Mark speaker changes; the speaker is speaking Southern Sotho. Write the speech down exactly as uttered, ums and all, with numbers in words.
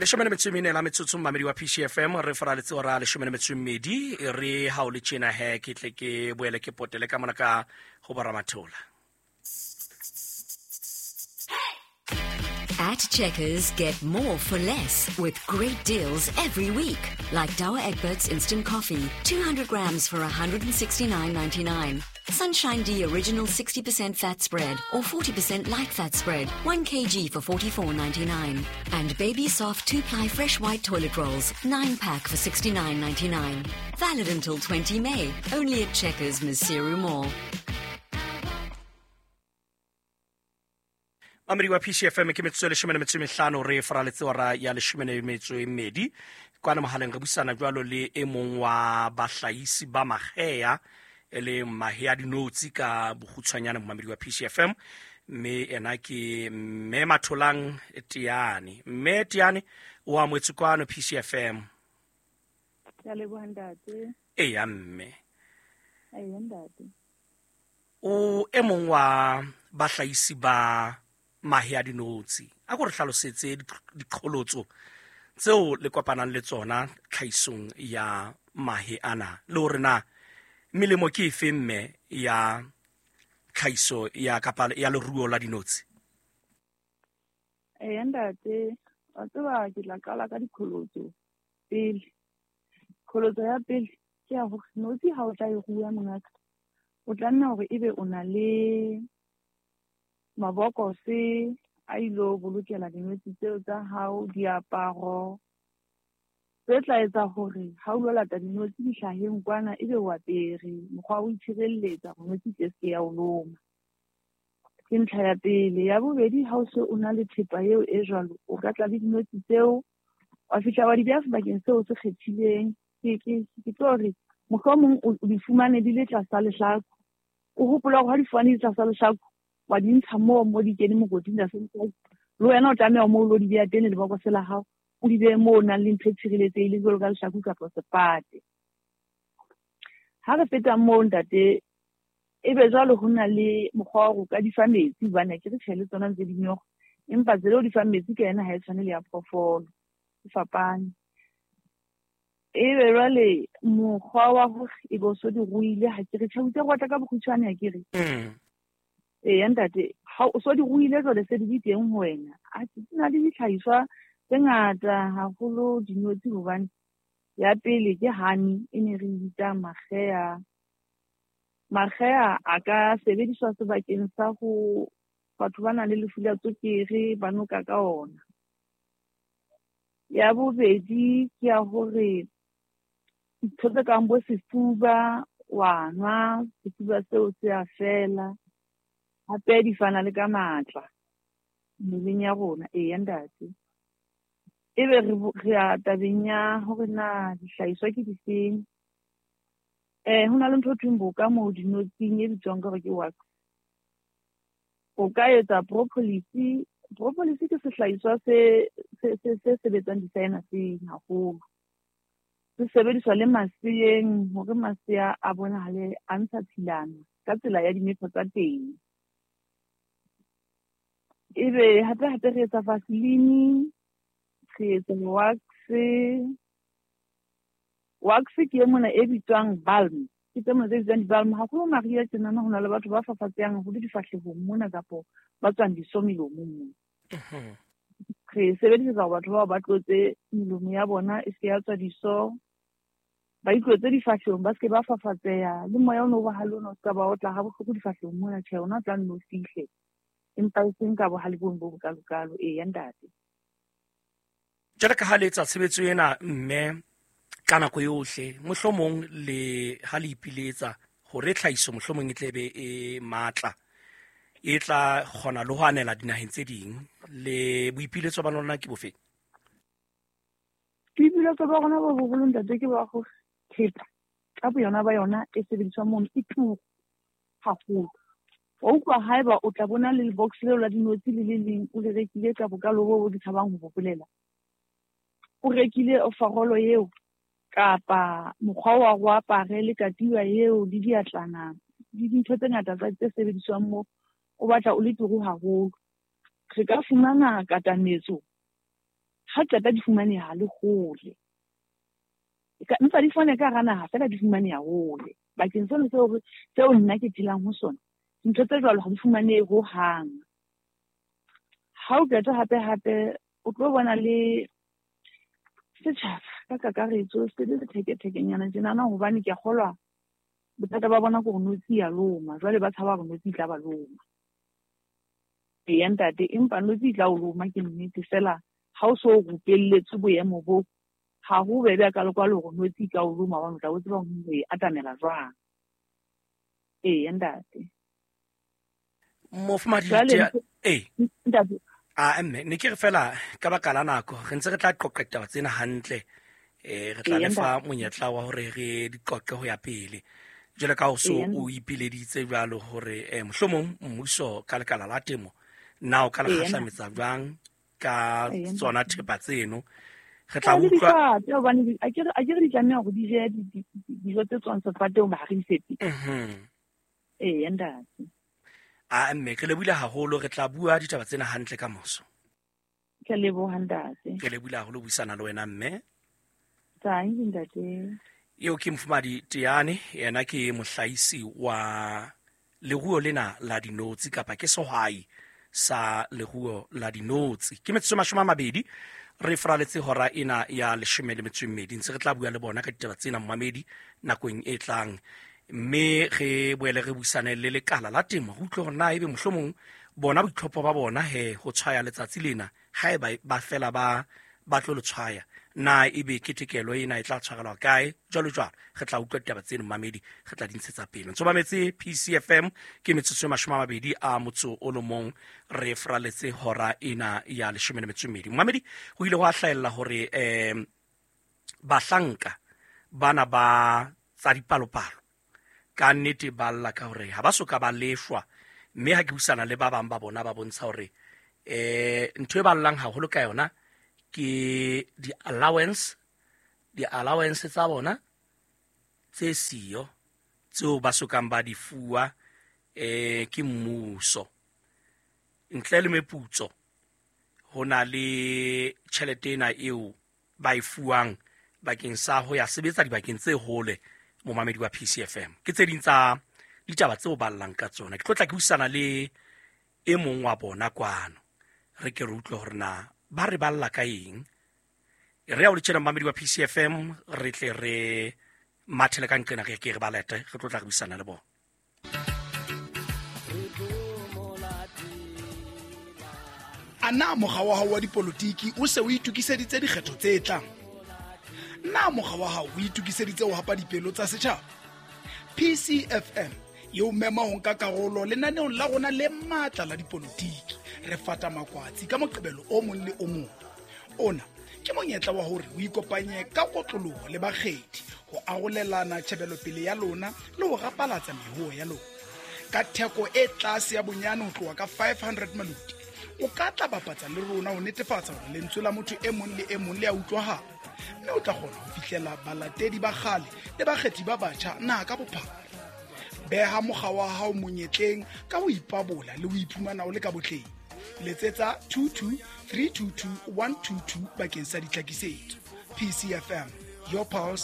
Speaker 1: Leshome le metso e mene la metsotso mmamedi wa P C F M re faraletse ora leshome le metso e mmedi re ha o le tjena he ke tle ke boele ke potele ka mona ka ho bo Ramathola.
Speaker 2: At Checkers, get more for less with great deals every week. Like Douwe Egberts Instant Coffee, two hundred grams for one hundred sixty-nine ninety-nine. Sunshine D Original sixty percent fat spread or forty percent light fat spread, one kilogram for forty-four ninety-nine. And Baby Soft two-ply fresh white toilet rolls, nine pack for sixty-nine ninety-nine. Valid until twentieth May, only at Checkers Maseru Mall.
Speaker 1: Mamedi wa P C F M ke metsotso e leshome le metso e mehlano re faraletse hora ya leshome le metso e mmedi. Kwana mohaleng re buisana jwalo le e mong wa bahlahisi ba mahea e le mahe a dinotshi ka bokgutshwanyane momamedi wa P C F M, mme ena ke Mme Matholang Teane. Mme Teane o amohetswe kwano P C F M.
Speaker 3: Ke a leboha ntate.
Speaker 1: Eya mme.
Speaker 3: Eya ntate.
Speaker 1: O e mong wa bahlahisi ba mahe a dinotshi. A ko re hlalosetse diqholotso tseo le kopanang le tsona tlhahisong ya mahe ana, le hore na melemo ke efe mme ya tlhahiso ya kapa ya leruo la dinotshi?
Speaker 3: Eya ntate, wa tseba ke tla qala ka diqholotso pele. Qholotso ya pele ke ya hore notshi ha o tla e rua mongaka, o tla nna hore ebe o na le mabokose a ilo bolokela dinotshi tseo tsa hao, diaparo tse tla etsa hore ha o lo lata dinotshi dihlaheng kwana ebe o apere, mokgwa wa ho itshireletsa hore notshi e se ke ya o loma. Ke ntlha ya pele. Ya bobedi, ha o se o na le thepa eo e jwalo, o ka tla le dinotshi tseo wa fihla wa di beha sebakeng seo se kgethileng. Ke ke ke tlo re mohlomong o di fumane di le tlasa lehlaku, o hopola hore ha di fumane di tlasa lehlaku wa di ntsha moo mo di kene mokoting tlasa lehlaku, le wena o tlameha moo o lo di beha teng lebokose la hao, o di behe moo o nang le ntho e tshireletsehileng jwalo ka lehlaku kapa sefate. Ha re feta moo ntate, ebe jwale ho na le mokgwa wa hore o ka di fa metsi, hobane akere tjhe le tsona ntse di nyoga, empa tsela eo di fang metsi ka yona ha e tshwane le ya phoofolo, e fapane. Ebe jwale mokgwa wa hore ebe o so di ruile, ha ke re tjhe, o itse re batla ka bokgutshwane akere?
Speaker 1: Mm.
Speaker 3: Eya ntate, ha o so di ruile jwale se di le teng ho wena. A ke na le dihlahiswa tse ngata haholo dinotshi, hobane ya pele ke honey e ne re bitsa makgeya. Makgeya a ka sebediswa sebakeng sa ho batho ba nang le lefu la tswekere ba noka ka ona. Ya bobedi ke ya hore ntho tse kang bo sefuba wa nwa, sefuba seo se a fela. Hape di fana le ka matla mmeleng ya rona. Eya ntate. Ebe re re ya tabeng ya hore na dihlahiswa ke difeng. Eh ho na le ntho e thweng boka moo dinotshing e bitswang ka hore ke wax. O ka etsa propolis. Propolis ke sehlahiswa se se se se sebetsang di-sinuseng haholo. Se sebediswa le maseyeng hore masea a bonahale a ntsha tshilana ka tsela ya dimepho tsa teng. Ebe hape hape re etsa vaseline, re etsa wax. Wax ke e mona e bitswang balm. Ke tse mona tse bitswang di-balm. Haholo mariha tjenana ho na le batho ba fafatsehang haholo difahlehong mona kapo ba tswang diso melomong mona. Re sebedisetsa hore batho bao ba tlotse melomo ya bona e se ya tswa diso, ba itlotse difahlehong, ba se ke ba fafatseha. Le moya ono o bohale ona o se ka ba otla ha bohloko difahlehong mona, tjhe, ona o tla nno o fihle, empa e seng ka bohale bono bo bokalokalo. Eya ntate.
Speaker 1: Jwale ka ha le etsa tshebetso ena mme ka nako yohle, mohlomong le ha le ipiletsa hore tlhahiso mohlomong e tle be e matla, e tla kgona le ho anela dinaheng tse ding, le boipiletso ba lona ke bofe?
Speaker 3: Boipiletso ba rona bo boholo ntate ke ba hore thepa ka boyona ba yona e sebediswang mono e turu haholo. Wa utlwa haeba o tla bona le box leo la dinotshi le le leng o le rekile ka bokalo bo bo ke tshabang ho bo bolela. O rekile ofarolo eo kapa mokgwa wa ho apare le katiba eo le diatlana le dintho tse ngata tsa tse sebediswang moo, o batla o le turu haholo. Re ka fumana katametso Ha qeta di fumaneha le hole. Empa di fumaneha ka hara naha feela di fumaneha hole. Bakeng sena seo seo nna ke phelang ho sona, dintho tse jwalo ha di fumanehe hohang. Ha o qeta hape hape o tlo bona le setjhaba ka kakaretso se le sethekethekenyana tjenana, hobane ke a kgolwa bothata ba bona ke hore notshi ya loma. Jwale ba tshaba hore notshi e tla ba loma. Eya ntate, empa notshi e tla o loma ke nnete feela ha o so rupelletswe boemo bo, ha ho bobebe hakalo-kalo hore notshi e ka o loma hobane o tla o tseba hore o e atamela jwang. Eya ntate.
Speaker 1: Mofumahadi
Speaker 3: Jwale
Speaker 1: ee
Speaker 3: ntate
Speaker 1: a mme ne ke re fela ka baka la nako re ntse re tla qoqa ditaba tsena hantle, eh re tla
Speaker 3: Eya
Speaker 1: lefa
Speaker 3: ntate.
Speaker 1: monyetla wa hore re di qoqe ho ya pele. Jwalo ka o so
Speaker 3: Eya
Speaker 1: o ipileditse jwalo hore eh mohlomong mmuso ka lekala la temo na o ka le
Speaker 3: Eya ntate.
Speaker 1: kgahlametsa jwang ka
Speaker 3: Eya
Speaker 1: tsona
Speaker 3: ntate.
Speaker 1: thepa tseno. Re tla
Speaker 3: Le
Speaker 1: utlwa
Speaker 3: difate hobane di- akere akere di tlameha hore di je di- di- dijo tse tswang sefateng ba re di fepe.
Speaker 1: Mhm.
Speaker 3: Eya ntate.
Speaker 1: A mme re lebohile haholo, re tla bua ditaba tsena hantle ka moso.
Speaker 3: Ke a leboha ntate.
Speaker 1: Re lebohile haholo buisana le wena mme.
Speaker 3: Tanki ntate.
Speaker 1: Eo ke Mofumahadi Teane, yena ke mohlahisi wa leruo lena la dinotshi kapa ke sehwai sa leruo la dinotshi. Ke metsotso e mashome a mabedi re fraletse hora ena ya leshome le metso e mmedi. Ntse re tla bua le bona ka ditaba tsena mmamedi nakong e tlang, mme re boele re buisane le lekala la temo, re utlwe hore na ebe mohlomong bona boitlhopho ba bona he ho tshwaya letsatsi lena haeba ba fela ba ba tlo le tshwaya, na ebe ketekelo ena e tla tshwarelwa kae, jwalo jwalo. Re tla utlwa ditaba tseno mmamedi, re tla di ntshetsa pele. Ntso mametse P C F M, ke metsotso e mashome a mabedi a motso o le mong re fraletse hora ena ya leshome le metso e mmedi. Mmamedi, ho ile hwa hlahella hore eh bahlanka bana ba tsa dipalopalo ka nnete ba lla ka hore ha ba soka ba lefwa, mme ha ke buisana le ba bang ba bona ba bontsha hore eh ntho e ba llang haholo ka yona ke di-allowance, di-allowance tsa bona tse siyo tseo ba sokang ba di fuwa eh ke mmuso. Ntle le meputso ho na le tjhelete ena eo ba e fuwang bakeng sa ho ya sebetsa dibakeng tse hole momamedi wa P C F M. Ke tse ding tsa ditaba tseo ba llang ka tsona. Ke tlo tla ke buisana le e mong wa bona kwano, re ke re utlwe hore na ba re balla ka eng. Re ya o le tjena momamedi wa P C F M, re tle re mathele ka nqena re ke re ba lete, re tlo tla re buisana le bona.
Speaker 4: A na mokga wa hao wa dipolotiki o se o itokiseditse dikgetho tse tlang? Na mokga wa hao o itokiseditse ho hapa dipelo tsa setjhaba? P C F M e o mema ho nka karolo lenaneong la rona le matla la dipolotiki. Re fata makwatsi ka Moqebelo o mong le o mong. Ona ke monyetla wa hore o ikopanye ka kotloloho le bakgethi ho arolelana tjhebelopele ya lona le ho rapalatsa mehoo ya lona. Ka theko e tlase ya bonyane ho tloha ka five hundred maloti, o ka tla bapatsa le rona ho netefatsa hore lentswe la motho e mong le e mong le a utlwahala, mme o tla kgona ho fihlela balatedi ba kgale le bakgethi ba batjha naha ka bophara. Beha mokga wa hao monyetleng ka ho ipabola le ho iphumana o le ka botleng. Letsetsa two two three two two one two two bakeng sa ditlhakisetso. P C F M, your pulse,